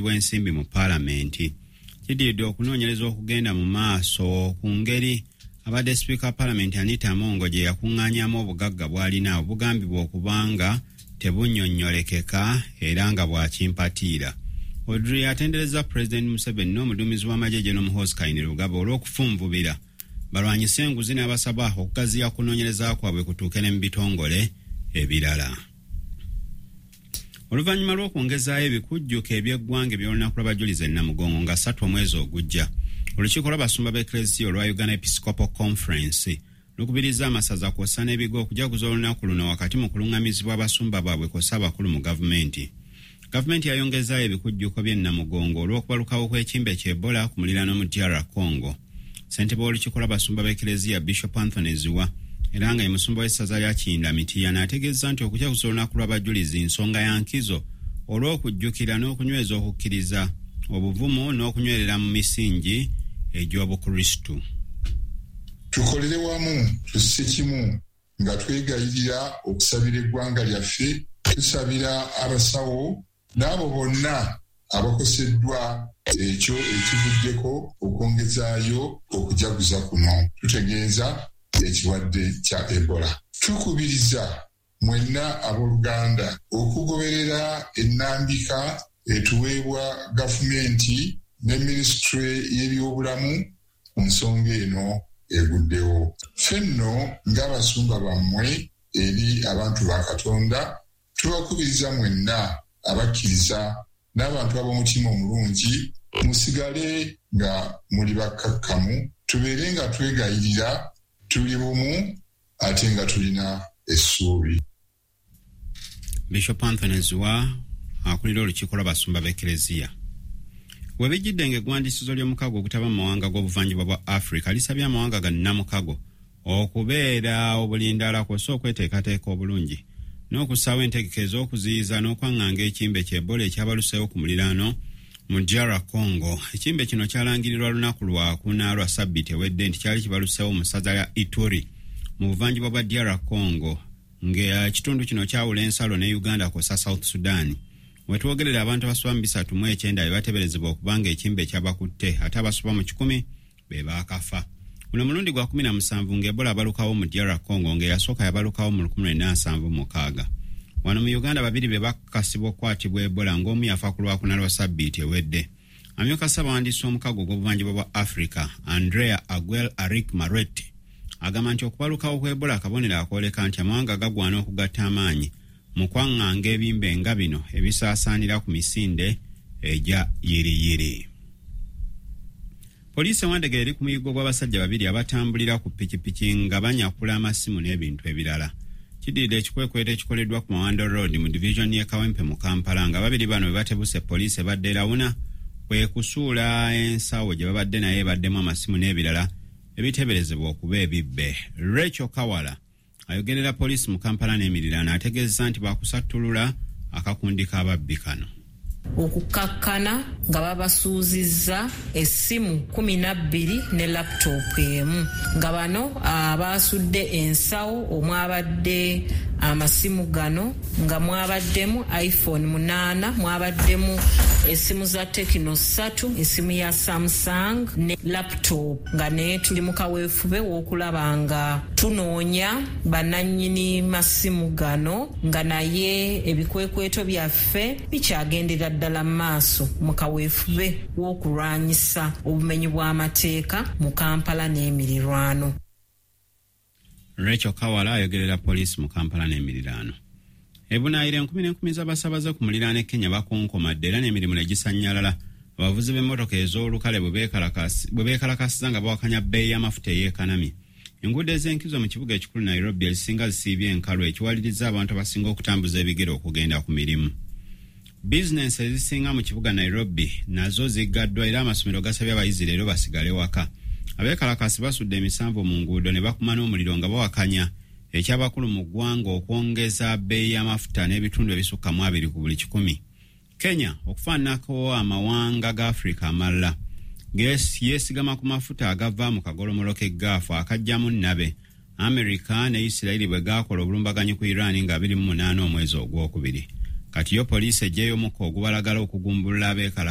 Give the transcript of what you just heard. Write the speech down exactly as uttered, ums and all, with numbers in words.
bw'ensimbi mu paalamenti. Kiddiridde okunoonyereza okugenda mu maaso ku ngeri abadde sipiika wa paalamenti Anita Among gye yakuŋŋaanyamu obugagga bw'alina obugambibwa okuba nga tebunnyonnyolekeka era nga bwa kimpatiira. Odri atenderezza Pulezidenti Museveni n'omuduumizi w'amagye General Muhoozi Kainerugaba olw'okufunvubira balwanyise enguzi n'abasaba okugaziya kunoonyereza kwabwe kutuuke ne mu bitongole ebirala. Oluvannyuma lw'okwongezaayo ebikujjuko eby'eggwanga eby'olunaku lw'abajulizi e Namugongo nga ssatu omwezi ogujja, olukiiko lw'abasumba b'Eklezia olwa Uganda Episcopal Conference lukubirizza amasaza kw'ossa n'ebigo okujaguza olunaku luno wakati mu kuluŋŋamizibwa abasumba baabwe kw'ossa abakulu mu gavumenti. Gavumenti yayongezaayo ebikujjuko by'e Namugongo olw'okubalukawo kw'ekimbe kya Ebola ku muliraano mu D R Congo. Ssentebe w'olukiiko lw'abasumba b'Eklezia Bishop Anthony Ziwa era nga ye musumba w'essaza lya Kiyinda Mityana ategeezza nti okujaguza olunaku lw'abajulizi nsonga ya nkizo olw'okujjukira n'okunyweza okukkiriza, obuvumu n'okunywerera mu misingi egy'Obukristu. Tukolere wamu tusse kimu nga twegayirira okusabira eggwanga lyaffe, tusabira abasawo n'abo bonna abakoseddwa ekyo ekivuddeko okwongezaayo okujaguza kuno. Tutegeeza ekirwadde kya Ebola. Tukubiriza mwenna abooluganda okugoberera ennambika etuweebwa gavumenti ne minisitule y'ebyobulamu ku nsonga eno eguddewo. Ffe nno ng'abasumba bammwe eri abantu ba Katonda, tubakubiriza mwenna abakkiriza n'abantu ab'omutima omulungi musigale nga muli bakkakkamu, tubeere nga twegayirira, tuli bumu ate nga tulina essuubi. Bishop Anthony Ziwa akulira olukiiko lw'abasumba b'Eklezia. We bijjidde ng'eggwandiisizo ly'omukago ogutaba mu mawanga g'obuvanjuba bwa Africa lisabye amawanga ga nnamukago okubeera obulindaala kw'ossa okweteekateeka obulungi n'okussaawo entegeka ez'okuziyiza n'okwaŋŋanga ekimbe kya Ebola ekyabaluseewo ku muliraano mu D R Congo. Ekimbe kino kyalangirirwa lunaku lwakuna lwa ssabbiiti ewedde nti kyali kibaluseewo mu ssaza lya Ituri mu buvanjuba bwa D R Congo, ng'ekitundu kino kyawula ensalo ne Uganda kw'ossa South Sudan. Wetwogerera abantu abasoba mu bisatu mu ekyenda be bateeberezebwa okuba nga ekimbe kyabakutte ate abasoba mu kikumi be baakafa. Guno mulundi gwa kumi na musanvu ng'Ebola abalukawo mu D R Congo, ng'eyasooka yabalukawo mu lukumi lwenda nsanvu mu mukaaga. Wano mu Uganda babiri be bakakasibwa okukwatibwa Ebola ng'omu yafa ku lwakuna lwa ssabbiiti ewedde. Amyuka ssabawandiisi w'omukago ogw'obuvanjuba bwa Africa Andrea Aguel Arik Maret agamba nti okubalukawo kwa Ebola akabonero akooleka nti amawanga gagwana okugatta amaanyi mu kwaŋŋanga ebimbe nga bino ebisaasaanira ku misinde egya yiriyiri. Poliisi e Wandegeya eri ku muyiggo gw'abasajja babiri abatambulira ku pikipiki nga banyakula amasimu n'ebintu ebirala. Kiddiridde ekikwekweto ekikoleddwa ku Mawanda Road mu divizoni y'e Kawempe mu Kampala nga babiri bano bwe batebuse poliisi ebadde erawuna kwe kusuula ensawo gye babadde naye ebaddemu amasimu n'ebirala ebiteeberezebwa okuba ebibbe. Rachel Kawala ayogerera poliisi mu Kampala n'emiriraano ategeezezza nti baakusattulula akakundi k'ababbi kano. Okukakkana nga babasuuzizza essimu kumi na bbiri ne laptop emu, nga bano abaasudde ensawo omwabadde amasimu gano nga mwabaddemu iPhone munaana, mwabaddemu essimu za Tecno ssatu, essimu ya Samsung ne laptop, nga naye tuli mu kaweefube w'okulaba nga tunoonya bannannyini masimu gano, nga naye ebikwekweto byaffe bikyagendera ddala mu maaso mu kaweefube w'okulwanyisa obumenyi bw'amateeka mu Kampala n'emirirwano. Rachel Kawala ayogerera poliisi mu Kampala n'emirirwano. Ebunaayira enkumi n'enkumi z'abasaabaze ku muliraano e Kenya bakonkomadde era n'emirimu ne gisannyalala abavuzi b'emmotoka ez'olukale bwe beekalakaasiza nga bawakanya bbeeyi y'amafuta ey'ekanamye. Enguudo ez'enkizo mu kibuga ekikulu Nairobi ezisinga zisiibye enkalu ekiwaliriza abantu abasinga okutambuza ebigere okugenda ku mirimu. Bizinensi ezisinga mu kibuga Nairobi nazo ziggaddwa era amasomero gasabye abayizi leero basigale waka. Abeekalakaasi basudde emisanvu mu nguudo ne bakuma n'omuliro nga bawakanya eky'abakulu mu ggwanga okwongeza bbeeyi y'amafuta n'ebitundu ebisukka mu abiri ku buli kikumi. Kenya okufaananako amawanga ga Afrika amalala yeesigama ku mafuta agava mu kagolomolo k'eggaafu akajjamu nnabe Amerika ne Isirayiri bwe gaakola obulumbaganyi ku Iran nga abiri mu munaana omwezi ogwokubiri. Kati yo poliisi eggyeyo omukka ogubalagala okugumbulula abeekalakaasi.